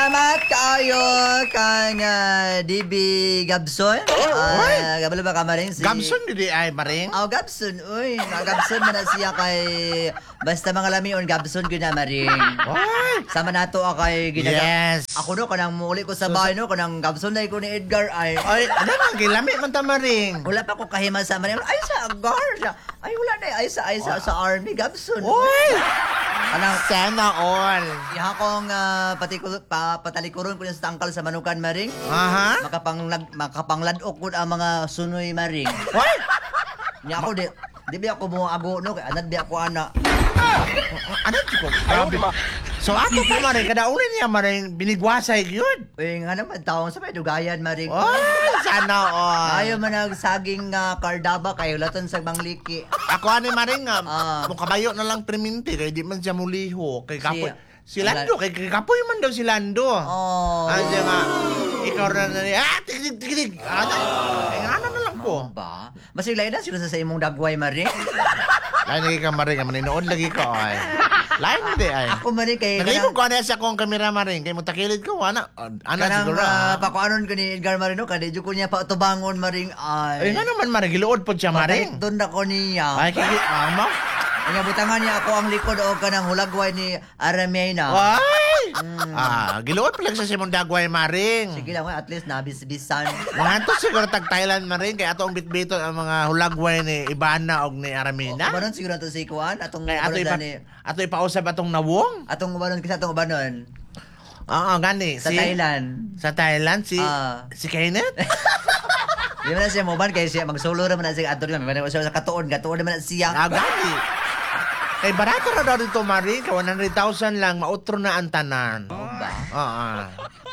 Salamat kaayo kang DB Gabson. Kabalo ba ka, Maring? Si Gabson di ay, Maring. Oh, Gabson, uy. Mga Gabson man na siya kay basta mga lamion Gabson gyud na, Maring. Oy! Sama nato kay ginaga. Yes. Ako no kanang muuli ko sa bahay no kanang Gabson na ko ni Edgar ay. Ay, ano man, gilami man ta, Maring. Wala pa ko kahima sa Maring. Ay sa agar. Ay wala na ay sa army Gabson. Oy! Kanang Sana all. iha kong patalikuron ko niya sa tangkal sa manukan, Maring. Makapangladok ko ang mga sunoy, Maring. Oy! Nya ako di ba ako mo ago no kay anad di ako ana. Ano ko? Grabe. So ato pa, Maring, kada uli niya, Maring, binigwasay yun. Uy, nga naman taong sa may dugayan, Maring. Oy, sana all. Ayaw man nagsaging kardaba kayo laton sa mangliki. Ako ani, Maring, nga, mukabayo na lang priminti kay di man siya muliho kay kapoy. Si Lando, kay kapoy man daw si Lando. Oh. Ano siya nga, ikaw na na, tik tik tik tik. Ano? Eh, ano na lang ko. Ba? Masiglain na sila sa imong dagway, Maring. Lain lagi ka, Maring, maninood lagi ko ay. Lain hindi ay. Ako, Maring, kay Naglibog ko ano sa akong kamera, Maring, kay mutakilid ko ana. Ana kanang siguro. Pakuanon ko ni Edgar Marino kay di ko niya pautubangon, Maring Ay ay. nga naman, Maring, giluod po siya, Maring. Doon ako niya. Ay kiki ama. Nga butangan niya ako ang likod o kanang hulagway ni Aramena. Ay! Giluod pa lang siya sa imong dagway, Maring. Sige lang, at least nabisbisan. Mga to siguro tag Thailand, Maring, kay ato ang bitbiton ang mga hulagway ni Ibana og ni Aramina. Ubanon siguro to si Kuan atong Kay ato ubanon ipa ni ato ipausab atong nawong. Atong ubanon kasi atong ubanon Oo, gani. sa Si Thailand. Sa Thailand si si Kenneth. Di man na siya moban kay siya magsulo ra man na siya adto man siya sa katuon katuon man na siya. Gani. Kay barato ra daw dito, Maring, kay 100,000 lang mautro na ang tanan. Ba? Oo.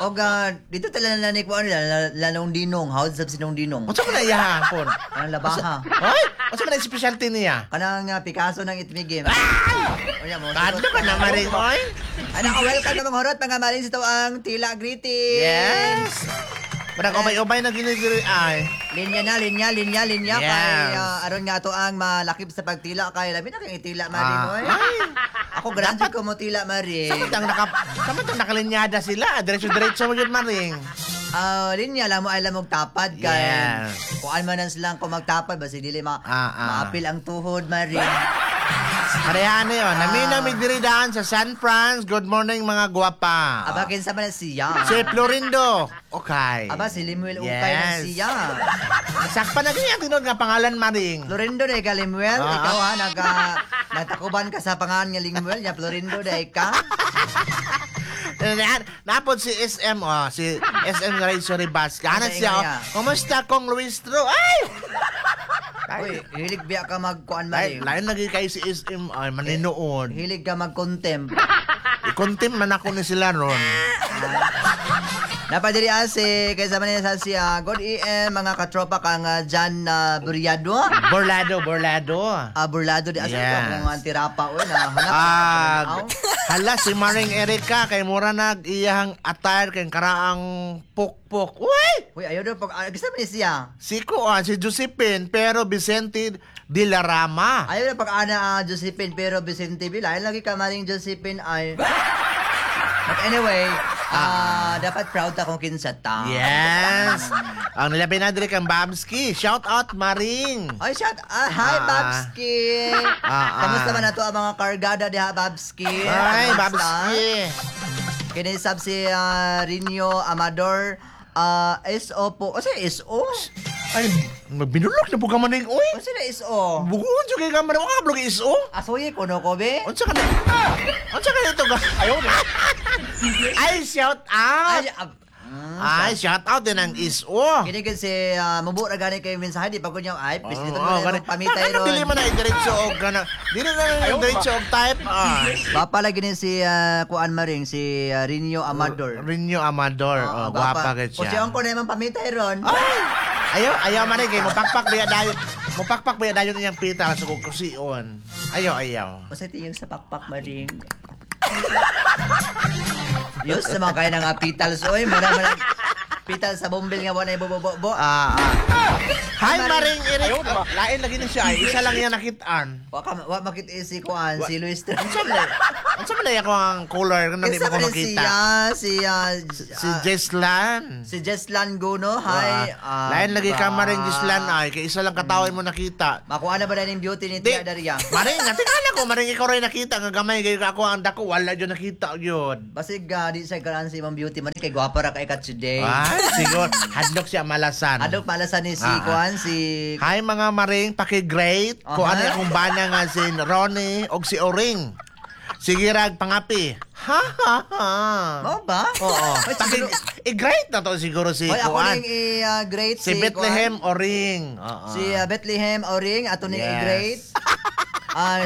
Og dito tala na ni Kuan lanong dinong, house sab sinong dinong. Unsa man na iya hapon? Kanang labaha. Hoy, unsa man ang specialty niya? Kanang Picasso ng itmigim. Unya mo. Kadto ka na, Maring, oy. Ano ka, welcome na mga horot, mga maring sa ang Tila Greetings. Yes. Parang ubay-ubay na ginigiri ay. Linya na, linya, linya, linya. Yes. Kay aron nga to ang malakip sa pagtila. Kay labi na kang itila, Maring. Oy. Ay. Ako, graduate ko mo tila, Maring. Samantang nakalinyada sila, diretso-diretso mo yun, Maring. Linya lang mo ay lamog tapad kay kuan man ang silang kung magtapad basi dili ma maapil ang tuhod, Maring. Parehan na yun. Namin namin diri daan sa San Franz. Good morning, mga guwapa. Aba kinsa man na siya? Si Florindo. Okay. Aba si Limuel Ukay na siya. Sakpa na ganyan tinuod nga pangalan, Maring. Florindo day ka, Limuel. Ikaw ha nagtakuban ka sa pangalan nga Limuel nya Florindo day ka. Napod si SM, oh, si SM Ray Ribas. Ano Ano siya, oh. niya? Kumusta kong Luistro? Ay! Uy, hilig biya ka magkuan, Ay, Maring. lain lagi kay si SM, ay, maninood. Hilig ka mag-contempt. I-contempt man ako ni sila ron. Napadiri ase kaysa man sa siya. Good AM mga katropa kang Jan Buriado. Borlado, Borlado. Burlado di asa Yes. ko kung antirapa oy na hanap. Hala si Maring Erika kay mura nag iyahang attire kay karaang pukpok. Uy! Uy, ayaw daw pag gusto man ni siya. Si Kuan, si Josephine, pero Vicente de la Rama. Ayaw na pag ana Josephine pero Vicente Villa. Ayaw lagi ka Maring Josephine ay. But anyway, dapat proud ta kung kinsa ta. Yes. Ang nilabi na diri kang Babski. Shout out, Maring. Ay, shout hi, Babski. Kamusta man na to ang mga kargada diha, Babski? Ay, Kamusta? Babski. Kinisab si Rinyo Amador, SO po. O sa SO? Ay, magbinulok na po ka maning, uy. O sa SO? Bukuon jud kay ka maning, wa ka blog iso. Asuyi ko no ko be? Unsa ka na? Unsa ka nito ka? Ayaw na. Ay, shout out. Ay, Ay, shout out din ang iso. Kini kasi mubo ra gani kay mensahe di pa ko niya ay please dito Oo, mo gani. na pamitay Ano, ron. dili man na diretso og kana. Dili na lang diretso og type. Bapa lagi ni si Kuan Maring si Rinyo Amador. Rinyo Amador. Oo, Oh, gwapa kay O siya. siya ko na imong pamitay ron. Ay! Ayaw, ayaw man kay mopakpak biya dayon. Mopakpak biya dayon iyang pita sa kukusion. Ayaw, ayaw. O sa tiyong sa pakpak Maring. Yus sa mga kaya nga pitals oy, mura man pital sa bombil nga wala ibobobo. Ah. Hi, Maring Eric. Oh, lain lagi ni siya. Ay. Isa lang yan nakitaan. Wa ka wa makit si Kuan si Luis. Unsa man? Unsa man ako ang color kung hindi Kinsa mo ko man makita? siya? Si, Si Jeslan. Si Jeslan Guno. Hi. Lain lagi ka ba? maring Jeslan ay kay isa lang katawa mo nakita. Makuha na ba na yung beauty ni Di, Tia Daria? Maring, natingala ko, maring ikaw rin nakita nga gamay kayo ako ang dako wala jud nakita yun. Basig di sa karaan sa imong beauty man kay gwapa ra kay kat today. Ay, siguro hadlok siya malasan. Adok pala sa ni si Kuan si Hi mga maring, paki-great. Kung ano akong bana nga si Ronnie og si Oring. Sige rag pangapi. Ha ha ha. Mao ba? Oo. Ay, Paki siguro, i-great na to siguro si Oy, ako Kuan. ning i-great Si Bethlehem Oring. Oo. Si Bethlehem Oring ato ning i-great. Ay,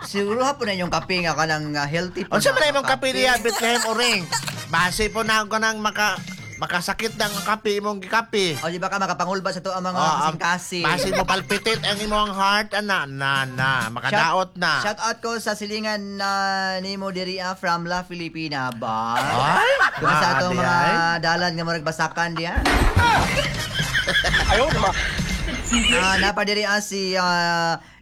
siguro hapon na inyong kape nga kanang healthy po. Unsa na man imong kape niya Bethlehem Oring? Base po na ko nang makasakit ng kape imong gikape. O di ba ka makapangulba sa to ang mga Oo, kasing-kasing. Base mo palpitit ang imong heart ana na na makadaot na. Shout out ko sa silingan na nimo diri from La Filipina ba. Ay, Kung sa atong maaari mga ay. dalan nga murag basakan diya. Ayaw naman. Napa diri si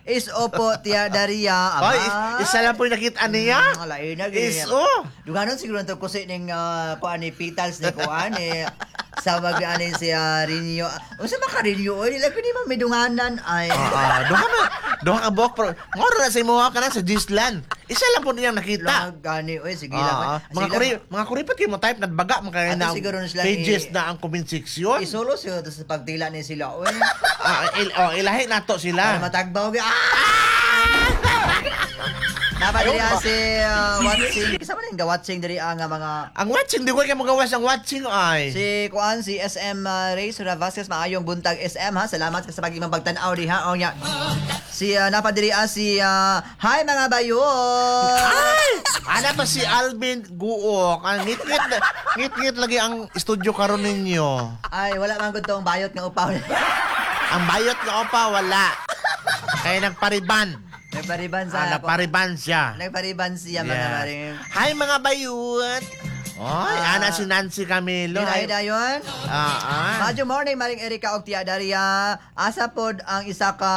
Iso po Tia Daria. Aba. Ay, isa lang po yung nakita niya. Lain na gini. Iso. Duganon siguro to kusi ning kuan ni Petals ni kuan ni sa wag ani si Rinyo. Unsa ba ka Rinyo? Oy, dili ko ni man midunganan ay. Duha man, duha ka buhok pero ngoro na sa imuha ka na sa Gislan. Isa lang po niyang nakita. Lang gani oy, sige lang. Mga Sige kuri, lang. mga kuripot kayo mo type nagbaga man kaya Ato na siguro na sila pages na ang comment section. Isulo siya to sa pagtila ni sila oy. Oh, ilahi nato sila. Para matagbaw gi. Ah! Napa diri si watching. Kisa man nga watching diri ang mga Ang watching di ko kay magawas ang watching ay. Si Kuan, si SM Ray Sura Vasquez, maayong buntag SM ha. Salamat sa pag-imong pagtan-aw diha. O nya. Si napa diri si hi mga bayo. Ay! Ana pa si Alvin Guok. Ang ngit-ngit ngit-ngit lagi ang studio karon ninyo. Ay, wala man gud tong bayot nga upaw. Ang bayot nga opa wala. Kaya nagpariban. Nagpariban sa Nagpariban siya. Nagpariban siya mga Yes. maring. Hi mga bayot. Oy, ana si Nancy Camilo. Ay, dayon. Madyo morning, Maring Erika og Tia Daria. Asa pod ang isa ka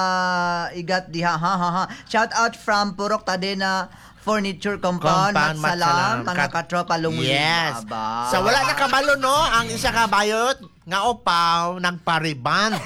igat diha ha ha ha. Shout out from Purok Tadena Furniture Compound, Compound, Matsalam, Matsalam. mga katropa lungli. Yes. Aba. Sa wala na kabalo no, ang isa ka bayot nga upaw nagpariban.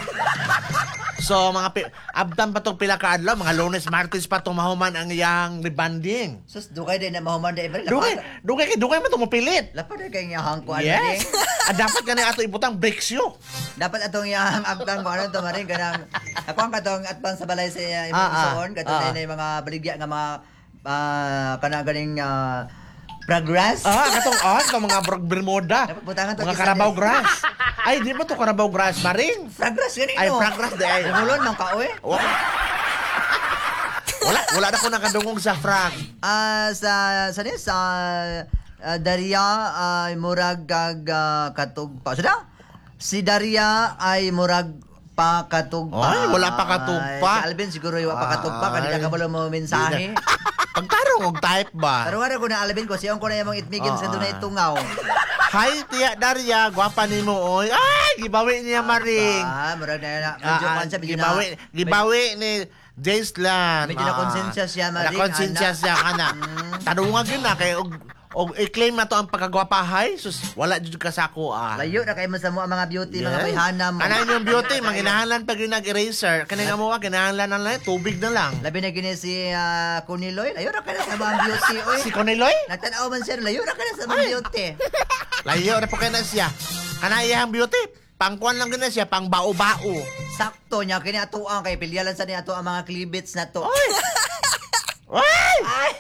So mga abdan pa tong pila ka adlaw, mga Lunes, Martes pa tong mahuman ang iyang rebanding. Sus, dugay din na mahuman di ba? Dugay, dugay kay dugay man to mopilit. Lapad kay nga hangkuan Yes. Dapat kani ato ibutang breaks yo. Dapat atong iyang agtang ko ano to maring kanang ako ang katong atbang sa balay sa imong isuon katong na yung mga baligya nga mga kanang ganing progress. Katong mga Bermuda. Dapat butangan to Mga kisa Carabao din. grass. Ay, di ba to Carabao grass maring? Progress gani Ay, no. progress di ay. Dungulon man ka oy. Wala, wala, wala na ko nakadungog sa frag. Sa sa ni sa Daria ay murag kag katugpa. Sada? Si Daria ay murag pa katugpa. Ay, wala pa katugpa. Si Alvin siguro yung pa katugpa kanila Ay. ka kabalo mo mensahe. Pagtarong og type ba? Pero nga ko na Alvin ko siya ko na yung itmigin sa dunay tungaw. Hi, Tia Daria, gwapa nimo oy. Ay, gibawi niya maring. Murag na na medyo kwan siya, medyo na Gibawi, gibawi ni Jacelan. Medyo na-konsensya siya, Maring, Na-konsensya ana. siya kana. Tanungag yun na kay og og i-claim na to ang pagkagwapahay sus wala jud ka sa ako ah. Layo na kayo mo sa mo ang mga beauty, mga bayhana mo. Kanang yung beauty, manginahanglan pag yung nag-eraser. Kanang mo kinahanglan na lang, tubig na lang. Labi na gini si Kuniloy, layo na kayo sa mga beauty, oy. Si Coniloy? Nagtanaw man siya, layo na kayo sa mga beauty. Layo na po kayo na siya. Kanang iyang beauty, pangkuan lang gina siya, pang bao-bao. Sakto niya, kini atuang kay pilyalan sa niya ato ang mga klibits na to. Oy! Oy! Ay!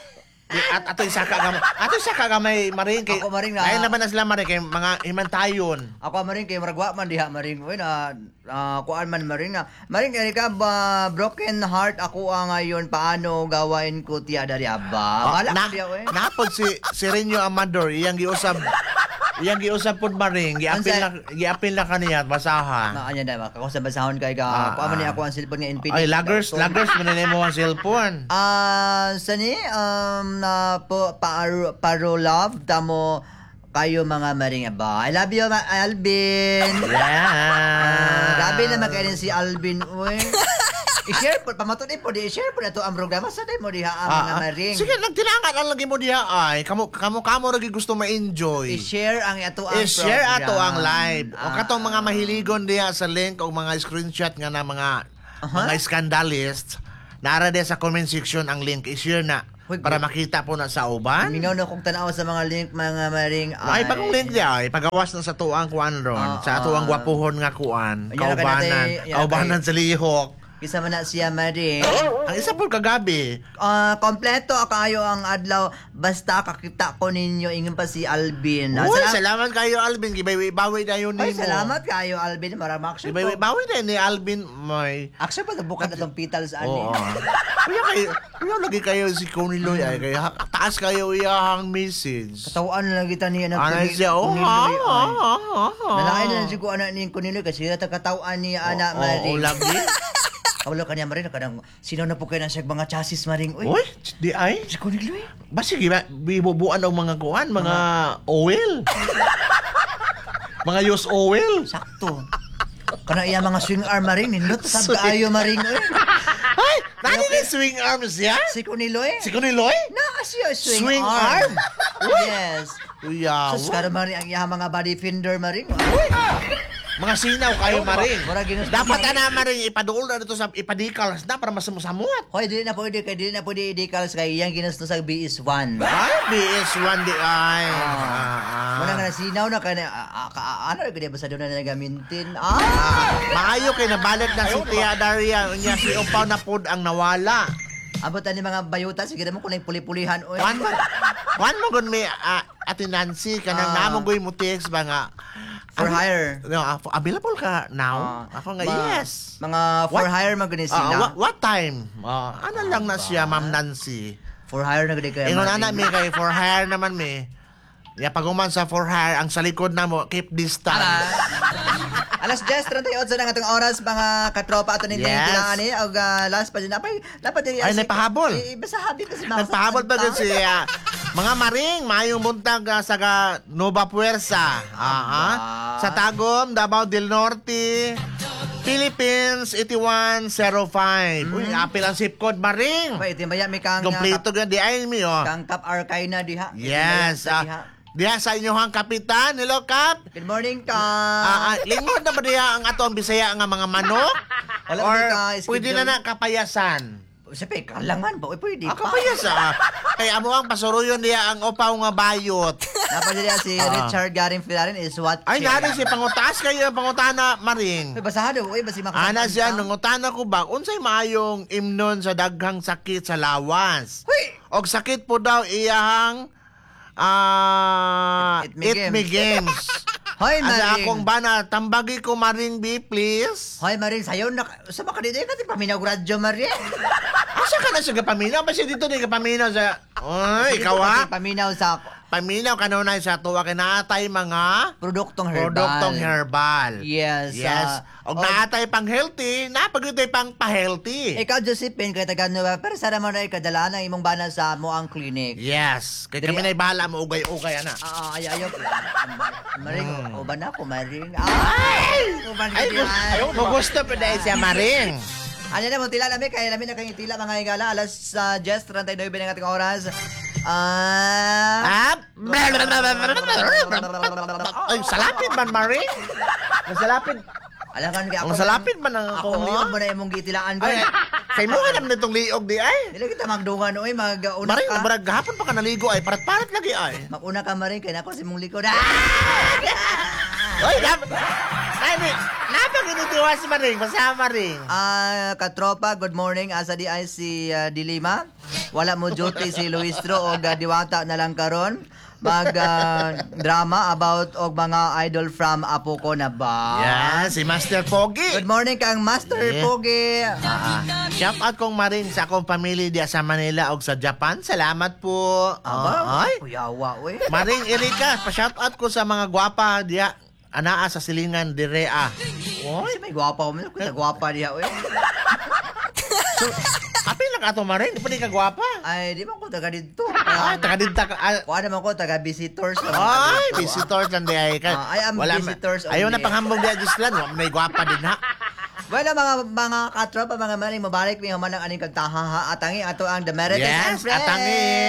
At ato isaka gamay maring kay Ako maring na- Ay naman na sila maring kay mga himantayon. Ako maring kay murag wa man diha maring oy na kuan man maring na maring kay ka ba broken heart ako ang ngayon paano gawain ko tiya dari aba. Wala na, ko diha oy. Napod si si Renyo Amador iyang giusab pod maring giapil Unsa? na giapil na kaniya basaha. Maanya na ba ako sa basahon kay ka kuan man ni ako ang cellphone nga Infinix. Ay lagers lagers man na mo ang cellphone. Sa ni na po paro, paro love damo kayo mga maring aba. I love you Alvin. Yeah. Grabe naman kayo si Alvin, uy. I-share po, pamatud po, di i-share po na to ang programa sa mo diha ang mga maring. Sige, nagtinangan ang lagi mo diha ay. Kamo kamo kamo ra gyud gusto ma-enjoy. I-share ang ato ang I-share program. ato ang live. O katong mga mahiligon diha sa link o mga screenshot nga na mga mga scandalist, naara diha sa comment section ang link. I-share na Uy, para makita po na sa uban. Mingaw na kong tanaw sa mga link, mga maring. Ay, bagong link diha ay pagawas na sa tuang kuan ron, sa atuang gwapuhon nga kuan, Yan na kaubanan, yan na kaubanan sa lihok. Isa man na siya, maring. Ang isa po kagabi, Kompleto kayo ang adlaw basta kakita ko ninyo, ingon pa si Alvin. Uy, salamat kayo, Alvin. Gibawi-bawi na yun Ay, nimo. salamat kayo, Alvin. Marama action po. Gibawi-bawi na ni Alvin. May. Action pa bukan atong pitals ani. Oo. Kuya kayo, kuya lagi kayo si Coney Loy ay kaya taas kayo iyahang message. Katawaan na lang kita niya ng Ana siya, oh, ha, Kuniloy, ha, ay. ha, ha. Nalain na lang siguro anak ni Kuniloy kasi ta katawaan niya anak Oo, maring. lagi. Kabalo kaniya maring kanang sino na po kayo na siya mga chassis maring. Uy, Uy, di ay. si Kuniloy. Ba sige ba, bibubuan og mga kuan, mga oil. Mga use oil. Sakto. Kana iya mga swing arm maring nindot sab kaayo maring oy. Ay, nani ni swing arms siya? Si Kuniloy. Si Kuniloy? Naa siya swing, Swing arm. arm? Yes. Uyaw. Sus karon maring ang iya mga body fender maring. Uy. Mga sinaw kayo maring. Mura ginus- Dapat ana maring ipaduol na dito sa ipadikals na para masamusamot. Hoy, dili na pwede kay dili na pwede i-decals kay iyang ginusto sa BS1. Ay, BS1 di ay. Muna nga nasinaw na kay ano gud ba sa doon na nagamintin. Maayo kay nabalit na si Tia Daria unya si Upaw na pod ang nawala. Abot ani mga bayuta sige mo kung puli-pulihan oy. Wan mo gun may Ate Nancy kanang namo goy mo text ba nga For hire. No, available ka now? Ako nga yes. Mga for What? hire man gud sila. What time? Ano lang na siya, Ma'am Nancy? For hire na gud kay. Ingon ana mi kay for hire naman mi. Ya paguman sa for hire ang sa likod na mo keep distance. Alas 10:38 na ang atong oras mga katropa ato ninyo Yes. yes. ani og last pa din napay dapat diri Ay, nagpahabol. Basta habi kasi mga Nagpahabol pa gud siya. Mga maring, maayong buntag sa ga Nova Puersa. Sa Tagum, Davao del Norte, Philippines 8105. Uy, apil ang zip code maring. Pa itimaya mi kang Kompleto gyud di ay mi oh. kang Kap Arkay na diha. Yes. Itimaya sa diha. Diha sa inyohang kapitan, hello Kap. Good morning ka. Lingkod na ba diha ang ato ang Bisaya nga mga manok? Wala Or ba ka schedule? pwede na na kapayasan? Sabi, kalangan ba? Uy, pwede pa. Kapayasan. Kaya amo ang pasuruyon diha ang upaw nga bayot. Napadali si Richard Garing Filarin is what Ay, nari si pangutaas kayo ang pangutana maring. Uy, basado. Uy, basi Ana siya, nangutana ko ba, unsay maayong imnon sa daghang sakit sa lawas? Huy! Og sakit po daw iyahang It me it games. me games. Hoy, Asa Maring. akong bana, tambagi ko Maring B, please. Hoy, Maring, sayo na. Sa baka dito, kasi paminaw radyo, Maring. Asa ka na sa kapaminaw? Basta dito ni kapaminaw sa... Oy, ikaw ha? Paminaw sa Paminaw ka na sa tuwa kay naatay mga produktong herbal. produktong herbal. Yes, Yes. Og naatay pang healthy, napagutay pang pa-healthy. Ikaw, Josephine, kay taga Nueva, pero sana mo na ikadala na imong bana sa mo ang clinic. Yes. Kay Dili- kami na'y bahala mo ugay-ugay ana. Ay, ayaw. Maring, uban na ako, Maring. Ay! Uban ka Ay, diyan. gusto, gusto pa dahil siya Maring. Ano na mo, tila lami, kaya lami na kayong tila mga higala. Alas 10:39 ng ating oras. Ay, salapit man, Maring. Masalapit. Alam ka, Ang salapit man ang ako. ako, Liog mo na imong gitilaan ko. Ay, kay mo ka naman itong liog di ay. Dili kita magdungan oy, maguna Maring, ka. barag gahapon pa ka naligo ay, parat-parat lagi ay. Maguna ka Maring, kay nako si mong likod. Ah! Ay, ay, napag-initiwa si Maring, basta Maring. Katropa, good morning. Asa di ay si Dilima. Wala mo duty si Luistro og diwata na lang karon. Mag drama about og mga idol from Apo ko na ba? Yan, si Master Pogi. Good morning kang Master Pogi. Shout out kong Maring sa akong pamilya diya sa Manila og sa Japan. Salamat po. Aba, Ay. kuyawa oy. Maring Erika, pa-shout out ko sa mga gwapa diya anaa sa silingan direa. Oy, may gwapa mo, kita gwapa diha oy. So, apil lang ato Maring, di pa di ka gwapa. Ay, di man ko taga didto. Ay, taga didta ka. Kuha naman ko taga visitors. Ay, visitors lang di ay. I am visitors Ayaw na only. panghambog diya Gislan, wa may gwapa din ha. Bueno, mga katropa, mga maning, mabalik mi human ang aning kantaha ha. Atangi ato ang The Marites and Yes, Friends. atangi.